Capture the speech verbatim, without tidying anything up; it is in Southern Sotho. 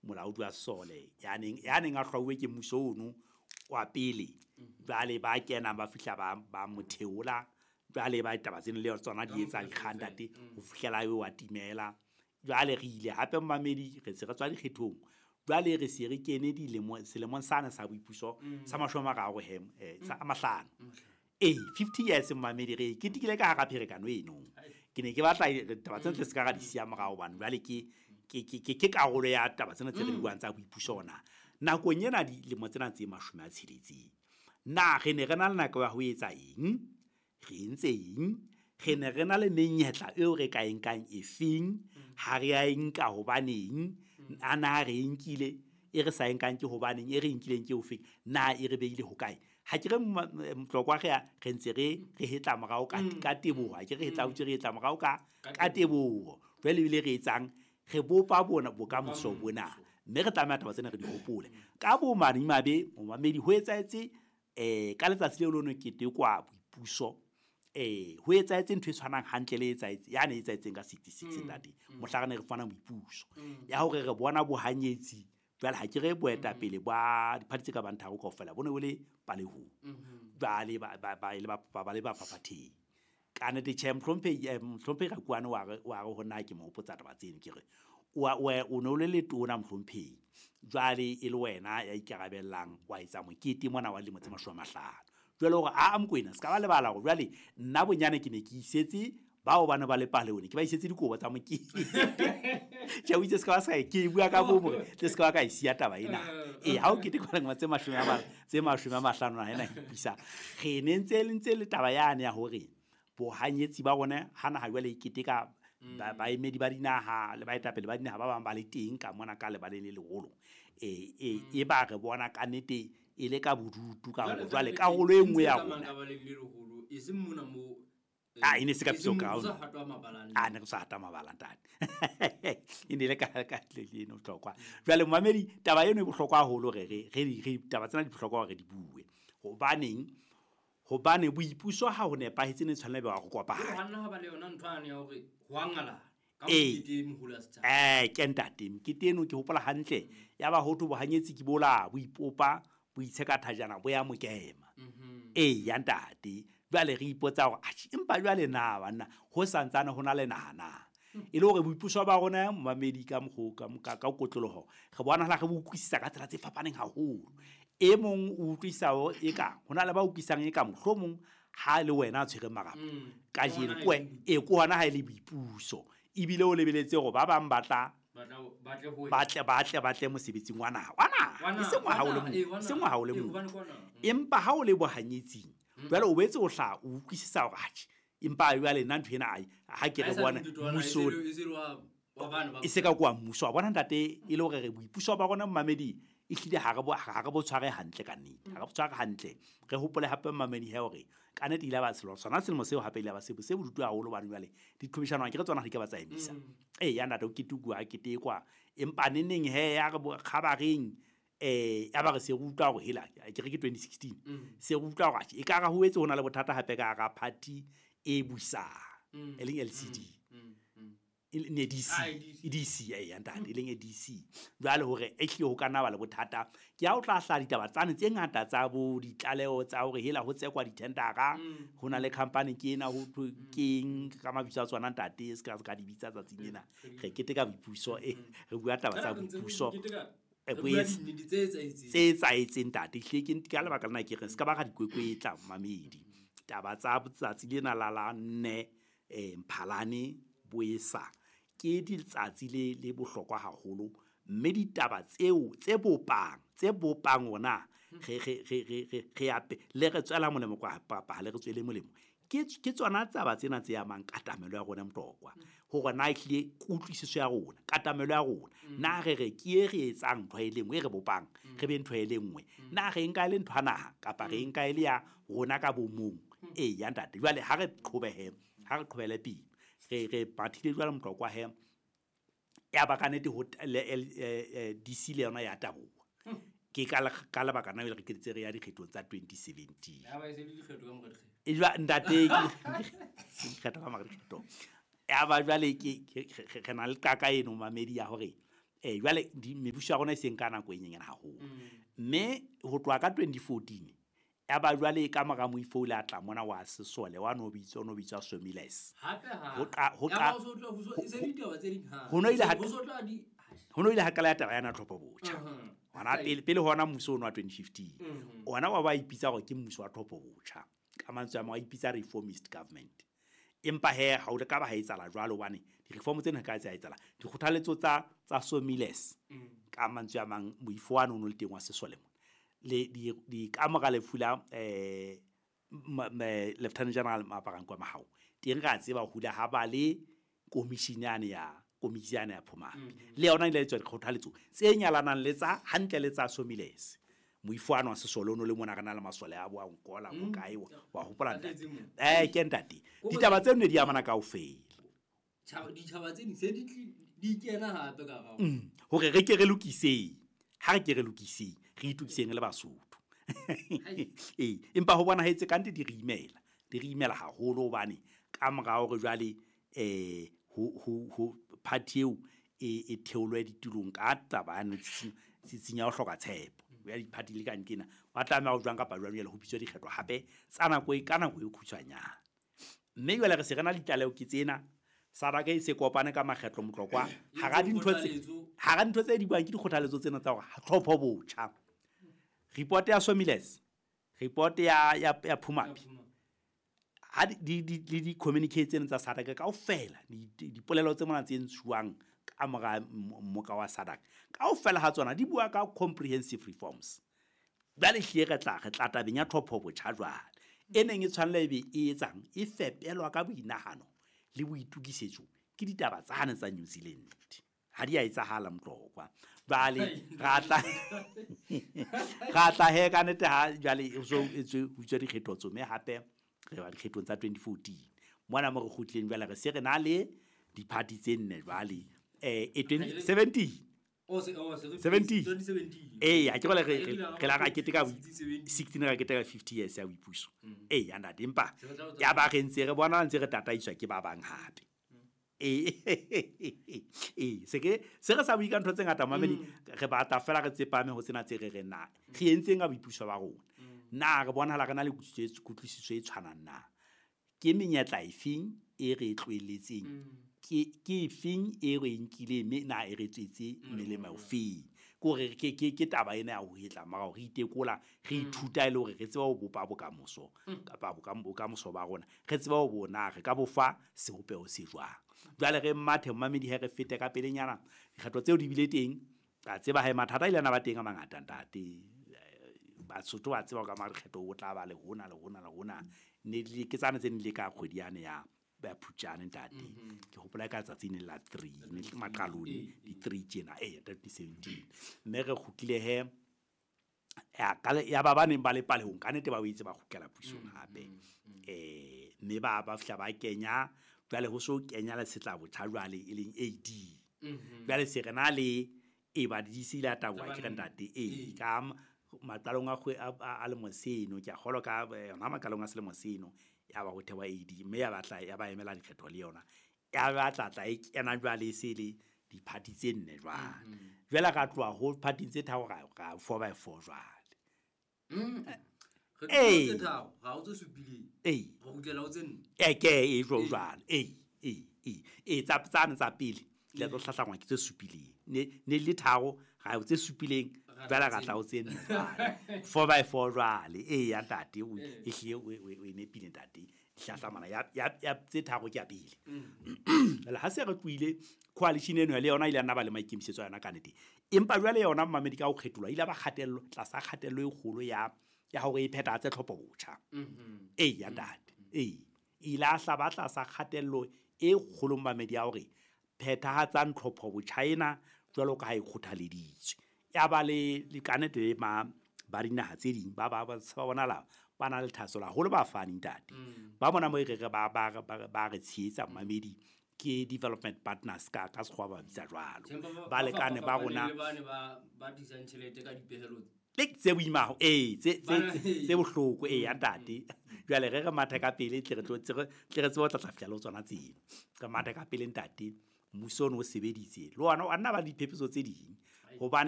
Molaodi wa sesole ya neng ya neng a hlwauwe ke mmuso ono wa pele. Jwale ba kena ba fihla ba ba mo theola. Jwale ba taba tseno le tsona di etsa dikgang ntate ho fihlela eo wa timela. Jwale re ile hape mmamedi re se re tswa dikgethong. Jwale re se re kene dilemo selemong sane sa boipuso sa mashome a mararo he sa a mahlano. Eh fifty years mmamedi re ketekile ka hara pherekano eno. Ke ne ke batla taba tsena tle se ka ra di siya morao hobane jwale ke ke ke ke karolo ya taba tsena tse re di buang tsa boipuso ona. Nakong ena dilemo tsena tse mashome a tsheletseng. Na re ne re na le nako ya ho etsa eng? Re entse eng? Re ne re na le menyetla eo re ka e nkang efeng? Ha re a e nka hobaneng? A na re e nkile? E re sa e nkang ke hobaneng? E re nkileng ke ofeng? Na e re behile hokae? Ha ke re Motlokwa re re ntse re re hetla morao ka ka teboho. Ha ke re hetla utse re hetla morao ka ka teboho. Jwale ebile re etsang? Re bopa bona bokamoso bona. Mme re tlameha taba tsena re di hopole. Ka bomadimabe momamedi ho etsahetse eh ka letsatsi leo leno ketekwa boipuso. Eh ho etsahetse ntho e tshwanang hantle le etsahetse ya ne etsahetseng ka sixty-six ntate. Mohla re ne re fana boipuso. Ya hore re bona bohanyetsi jwale ha ke re boetapele ba diphathi tse ka bang tharo kaofela bo ne bo le palehong. Jwale ba ba ba le ba ba le ba phaphatheng. Ka nnete tjhe mohlomphehi mohlomphehi Rakuane wa re wa re ho nna ke mo hopotsa taba tseno ke re wa o ne o le letona mohlomphehi. Jwale e le wena ya ikarabellang wa etsa mokete mona wa dilemo tse mashome a mahlano. Jwale hore a Mokoena se ka ba lebala hore jwale nna bonyane ke ne ke isetse bao bana ba le palehong ke ba isetse dikobo tsa mokete. Tjhe o itse se ka ba sa ke bua ka bo hore tle se ka ba ka isiya taba ena. Eh ha o ketekwa dilemo tse mashome a tse mashome a mahlano na ena ke pisa. Re ne ntse le ntse le taba yane ya hore bohanyetsi ba rona hana ha jwale e keteka baemedi ba dinaha le baetapele ba dinaha ba bang ba le teng ka mona ka lebaleng le leholo. Eh e ba re bona ka nnete e le ka bodutu ka hore jwale karolo e nngwe ya rona e seng mona mo ah e ne se ka piso ka ah ne re sa hata mabala ntate. E ne le ka ka le eno bohlokwa. Jwale momamedi taba eno e bohlokwa haholo re re re taba tsena di bohlokwa hore di bue. Hobaneng? Hobane boipuso ha ho nepahetse ne tshwanela be wa go kopana. Ha nna ha ba le yona ntho ane ya hore ho a ngala ka mokete moholo wa setjhaba. Eh ke ntate mokete eno ke hopola hantle ya ba hotho bohanyetsi ke bola bo ipopa bo itsheka thajana bo ya mokema. Eh ya ntate jwale re ipotsa hore atjhe empa jwale na banna ho santsane ho na le nahana. E le hore boipuso ba rona momamedi ka mokgo ka ka kotloloho re bona ha re bo utlwisisa ka tsela tse fapaneng haholo. E mong o utlwisa hore e ka hona le ba utlwisang e ka mohlomong ha le wena a tshwere marapo ka jeno kwe e ko hona ha e le boipuso ebile o lebeletse hore ba bang batla batle batle batle mosebetsing wa naha wa naha e seng wa hao le mong seng wa hao le mong empa ha o le bohanyetsing jwale o boetse o hla o utlwisisa hore atjhe empa jwale nna ntho ena ha ke re bona mmuso e se ka kwa mmuso wa bona ntate e le hore re boipuso ba rona mmamedi e hlile ha re bo ha re bo tshware hantle ka nnete ha re bo tshware hantle. Re hopole hape mmamedi he hore ka nnete ile ba selo sona selemo seo hape ile ba se se bodutu haholo bana jwale ditlhobishano ke re tsona di ka ba tsa emisa. Eh ya ntate o ketukwa ha ketekwa empa neneng he ya re kgabareng eh ya ba re se utlwa hore hela ke re ke twenty sixteen se utlwa hore e ka ra ho etse hona le bothata hape ka ra party e busang e leng L C D ne D C D C eh ya ntate e leng D C jwale hore e hle ho kana ba le bothata ke ha o tla hla ditaba tsane tse ngata tsa bo ditlaleho tsa hore hela ho tsekwa dithendara ho na le company ke ena ho keng ka mabitso a tsona ntate se ka se ka di bitsa tsatsing lena re keteka boipuso eh re bua taba tsa boipuso e tse etsaetseng ntate hle ke ka lebaka lena ke re se ka ba ga dikwekwetla mamedi taba tsa tsatsi lena la la nne eh Mphalane boesa ke ditsatsi le le bohlokwa haholo mme ditaba tseo tse bopang tse bopang ona re re re re re ape le re tswela molemo kwa papa le re tswele molemo ke ke tsona tsaba tsena tse amang katamelo ya rona Motokwa hore na ehlile kutlwisiso ya rona katamelo ya rona na re re ke e re etsang ntho e le nngwe e re bopang re be ntho e le nngwe na re nka le ntho ya naha kapa re nka e le ya rona ka bomong e ya ntate jwale ha re qhobehe ha re qhobele pele re re bathile jwale Motokwa he ya ba ka nete ho D C le yona ya taboha ke ka ka lebaka na re keditse re ya dikgethong tsa twenty seventeen ya ba e se le dikgetho ka mora dikgetho e jwa ntate dikgetho ka mora dikgetho ya ba jwale ke re na le qaka eno mamedi ya hore Eh jwale mebuso ya rona e seng ka nako e nyenyane haholo. Mme ho tloha ka twenty fourteen ya ba jwale ka mora moifo o ile a tla mona wa sesole wa no bitswa no bitswa Somiles. Hape ha. Ho qa ho qa ho no ile ha ho no ile ha kala ya taba yana tlhopho botjha. Hona pele pele hona mmuso ono wa twenty fifteen. Ona wa ba ipitsa hore ke mmuso wa tlhopho botjha. Ka mantswe a mang wa ipitsa reformist government. Empa he ha o le ka ba ha etsala jwalo hobane di-reform tsena ka tsa etsala dikgothaletso tsa tsa Somiles ka mantswe a mang moifo wa no le teng wa sesole mona le di di ka mora lefu la eh Lieutenant General Maaparankoe Mahao teng ra tseba hula ha ba le commission yane ya commission ya Phumaphi le yona ile tswa dikgothaletso tse nyalanang le tsa hantle le tsa Somiles moifo wa sesole ono le mona re na le masole a bo a nkola bo kae wa hopola ntate eh ke ntate ditaba tse nne di amana kaofela ditjhaba tse di se di di kena hape ka ga hore re ke re lokiseng ha re ke re lokiseng re itukiseng le Basotho eh empa ho bona hetse kante di re imela di re imela haholo hobane ka mora hore jwale eh ho ho ho party eo e e theolwe ditulong ka taba ya tsitsinya ho hloka tshepo ya di-party le ka nkena ba tlameha ho jwang kapa jwang jwale ho bitswa dikgetho hape tsa nako e ka nako e khutshwanyane mme jwale re se re na le ditlaleho ke tsena SADC e se kopane ka makgetlo Motlokwa hara dintho tse hara dintho tse di buang ke dikgothaletso tsena tsa hore tlhopho botjha report ya Somiles report ya ya ya Phumaphi ha di di di communicate tsena tsa SADC kaofela dipolelo tse mona tse ntshuwang ka mora mmoka wa SADC kaofela ha tsona di bua ka comprehensive reforms jwale hlile re tla re tla tabeng ya tlhopho botjha jwale e neng e tshwanela ebe e etsang e fepelwa ka boinahano le boitukisetso ke ditaba tsane tsa New Zealand ha di a etsahala Motlokwa jwale ra tla ra tla he ka nete ha jwale so etswe utswa dikgetho tso mme hape re ba dikgethong tsa twenty fourteen mona mo re kgutleng jwale re se re na le di-party tse nne jwale eh twenty seventeen seventeen eh ha ke re re la ra keteka sixteen ra keteka fifty years ya boipuso eh ya ntate empa ya ba re ntse re bona ntse re tataiswa ke ba bang hape eh eh se ke se re sa bua ka ntho tse ngata mamedi re batla fela re tsepame ho tsena tse re re na re entseng ka boipuso ba rona na re bonahala re na le kutlwisiso e tshwanang na ke menyetla efeng e re tlohelletseng ke ke efeng e re nkile mme na e re tswetse melemo ofeng ke hore ke ke ke taba ena ya ho hetla mara re itekola re ithuta ile hore re tseba ho bopa bokamoso kapa bokamoso ba rona re tseba ho bona re ka bofa sebopeho se jwang jwale re mathe mamedi he re fete ka pelenyana dikgetho tseo di bile teng ka tseba he mathata ile ana ba teng a mangata ntate Basotho ba tseba ka makgetho o tla ba le hona le hona le hona ne le ke tsane tse ne le ka kgwedi yane ya ba Phutjane ntate ke hopola ka tsatsi ne la three ne maqalong di three tjena eh twenty seventeen mme re kgutlile he ya ka ya ba baneng ba le palehong ka nete ba boetse ba kgutlela pusong hape eh mme ba ba fihla ba kenya jwale ho so kenya le setla botjha jwale e leng A D jwale se re na le e ba di se ile taboha ke re ntate e ka maqalong a a lemo seno ke a kgolwa ka yona maqalong a selemo seno ya ba ho thewa A D mme ya batla ya ba emela dikgetho le yona ya batla tla e kena jwale se le di-party tse nne jwale jwale ka tloha ho party tse tharo ra ra four by four jwale re tse tharo ra o tse supileng eh re kgutlela ho tse nne e ke e jwalo jwale eh eh eh eh tsa tsane tsa pele le tlo hlahlangwa ke tse supileng ne ne le tharo ra o tse supileng jwale ra tla o tse nne four by four jwale eh ya ntate o e hlile o o nepile ntate hlahlamana ya ya tse tharo ke ya pele jwale ha se re tlohile coalition eno le yona ile ya nna ba le maikemisetso a yona ka nete empa jwale yona mamedi ka ho kgetholwa ile ba kgatello tlasa kgatello e kgolo ya ya hore e phethahatse tlhopho botjha eh ya ntate eh ile a hla ba tlasa kgatello e kgolo mamedi ya hore phethahatsang tlhopho botjha ena jwalo ka ha e kgothaleditswe ya ba le le kanete le ma ba dinaha tse ding ba ba ba bona la ba na le thahasello haholo ba fane ntate ba bona mo e re ba ba ba re tshehetsa mamedi ke development partners ka ka sekgowa ba bitsa jwalo ba lekane ba rona ba ba tlisang tjhelete ka dipehelo le tse boima eh tse tse tse bohloko eh ya ntate jwale re re matha ka pele tle re tlo tle re tsebe ho tla tla fihla le tsona tsena re matha ka pele ntate Mmuso o ne o sebeditse le ona, a nna ba le diphephetso tse ding, hobane